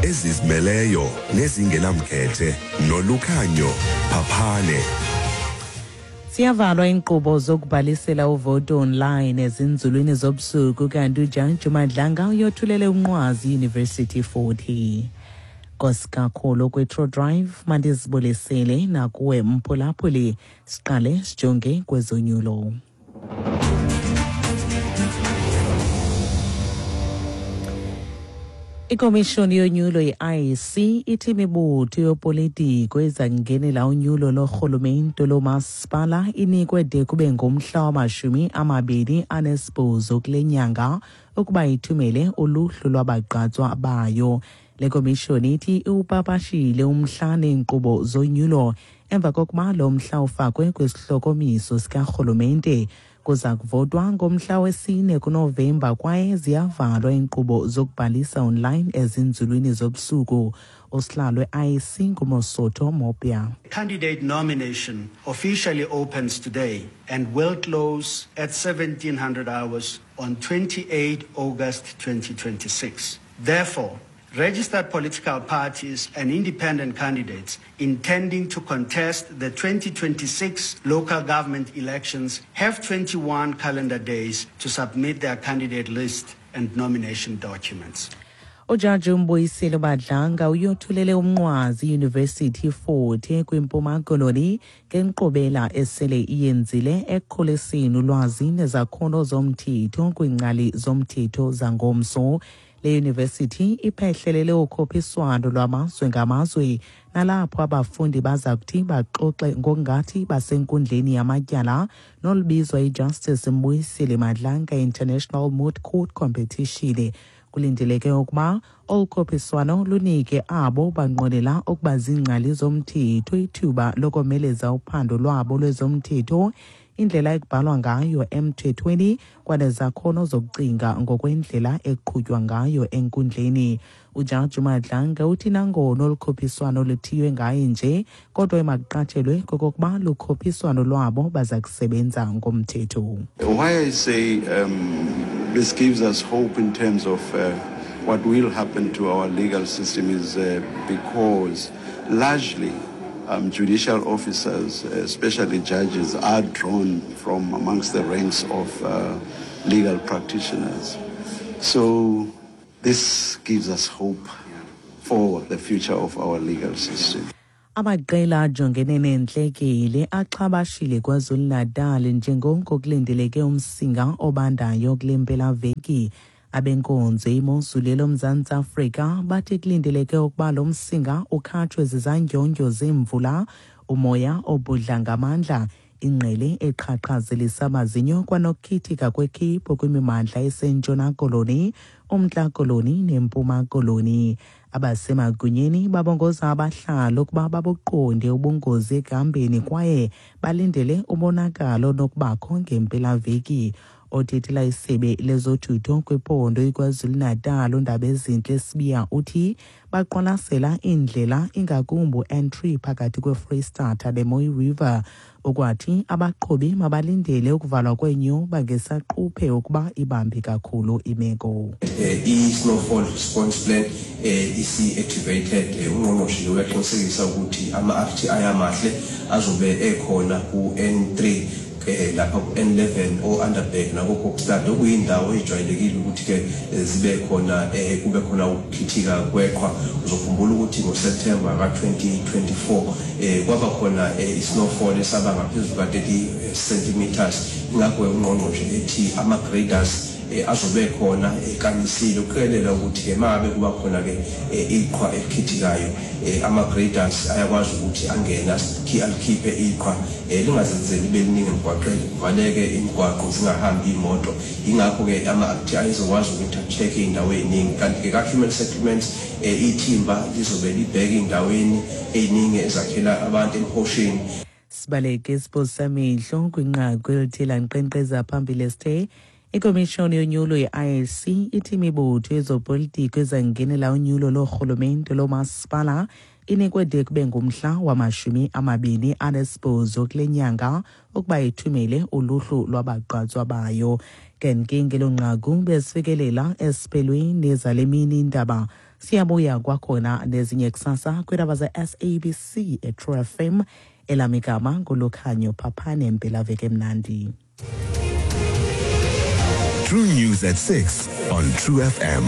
Ezizimeleyo nezingenamkhethe nolukhanyo phaphane. Siyavalwa iinkqubo zokubhalisela uvoto online ezinzulwini zobusuku kanti ujaji uMadlanga uyothulele umnqwazi University 40. Nkosi kakhulu kwi-True Drive mandizibulisele nakuwe mphulaphuli siqale sijonge kwezonyulo. Ikomishoni yonyulo i-IEC ithi imibutho yopolitiko eza kungenela unyulo lorhulumente lomasipala inikwe de kube ngumhla wamashumi amabini anesibhozo kule nyanga ukuba ithumele uluhlu lwabagqatswa bayo. Le komishoni ithi iwupapashile umhla neenkqubo zonyulo emva kokuba lo mhla ufakwe kwisihlokomiso sikarhulumente. Kuza kuvotwa ngomhla wesine kuNovemba kwaye ziyavalwa iinkqubo zokubhalisa online ezinzulwini zobusuku. Usihlalo we-IEC nguMosotho Mopia. Candidate nomination officially opens today and will close at 1700 hours on 28 August 2026. Therefore, registered political parties and independent candidates intending to contest the 2026 local government elections have 21 calendar days to submit their candidate list and nomination documents. Ujaji uMbuyiseli Madlanga uyothulele umnqwazi iUniversity Forte kwiMpuma Koloni ngenkqubela esele iyenzile ekukhuliseni ulwazi nezakhono zomthetho kwiingcali zomthetho zangomso. Le yunivesithi iphehlelele ukhuphiswano lwamazwe ngamazwe nalapho abafundi baza kuthi baxoxe ngokungathi basenkundleni yamatyala nolubizwa iJustice Mbuyiseli Madlanga International Moot Court Competition. Kulindeleke ukuba olu khuphiswano lunike abo banqwenela ukuba ziingcali zomthetho ithuba lokomeleza uphando lwabo lwezomthetho, indlela ekubhalwa ngayo emthethweni kwanezakhono zokucinga ngokwendlela eqhutywa ngayo enkundleni. Ujaji Madlanga uthi nangona olu khuphiswano luthiywe ngaye nje, kodwa emakuqatshelwe kokokuba lukhuphiswano lwabo baza kusebenza ngomthetho. Why I say this gives us hope in terms of what will happen to our legal system is because largely judicial officers, especially judges, are drawn from amongst the ranks of legal practitioners. So this gives us hope for the future of our legal system. Amaqela ajongene neentlekele axhabashile KwaZulu-Natal njengoko kulindeleke umsinga obandayo kule mpelaveki. Abenkonzo imozulu eloMzantsi Afrika bathi kulindeleke ukuba lo msinga ukhatshwe zizandyondyo zemvula, umoya obhudla ngamandla, ingqele eqhaqhazelisa amazinyo kwanokukhithika kwekhephu kwimimandla eseNtshona Koloni, uMntla Koloni neMpuma Koloni. Abasemagunyeni babongoza abahlali ukuba babuqonde ubungozi ekuhambeni kwaye balindele umonakalo onokubakho ngempelaveki. Othethela isebe lezothutho kwiphondo iKwaZulu-Natal uNdabezinhle Sibiya uthi baqwalasela iindlela ingakumbi u-N3 phakathi kweFreystata neMooi River. Ukwathi abaqhubi mabalindele ukuvalwa kweenyuba ngesaquphe ukuba ibambi kakhulu imeko. I-snowfall response plan isi-activated. Ungqongqoshe uyaqinisekisa ukuthi ama-RTI amahle azobe ekhona ku-N3 lapha ku-N11 o-Underberg nako-Kokstad, okuyindawo ejwayelekile ukuthi-ke zibe khona kube khona ukukhithika kweqhwa. Uzokhumbula ukuthi ngoSeptember ka-2024 kwaba khona i-snowfall esaba ngaphezulu ka-30 centimeters. Ingakho ungqongqoshe ethi ama-graders azobe khona ekamisile ukuqikelela ukuthi-ke mangabe kuba khona-ke iqhwa elikhithikayo, ama-graders ayakwazi ukuthi angene alikhiphe iqhwa lingazenzeli libe liningi emgwaqeni, kuvaleke imigwaqo, zingahambi iy'moto. Yingakho-ke ama-RTI ezokwazi ukuthi a-check-e iy'ndawo ey'ningi. Kanti-ke ka-human settlements ithimba lizobe libheke ey'ndaweni ey'ningi ezakhela abantu emhosheni. Sibaleke isiphosamehlo kwinqaku elithe lankqenkqeza phambili esithe ikomishoni yonyulo ye-IEC ithi imibutho yezopolitiko ezangenela unyulo loorhulumente lomasipala inikwe de kube ngumhla wamashumi amabini anesibhozo kule nyanga ukuba ithumele uluhlu lwabagqatswa bayo. Ke ngelo nqaku besifikelela esiphelweni zale mini indaba. Siyabuya kwakhona nezinye kusasa kwiindaba ze-SABC eTrue FM. Elam igama nguLukhanyo Phaphane. Mpelaveki emnandi. True News at 6 on True FM.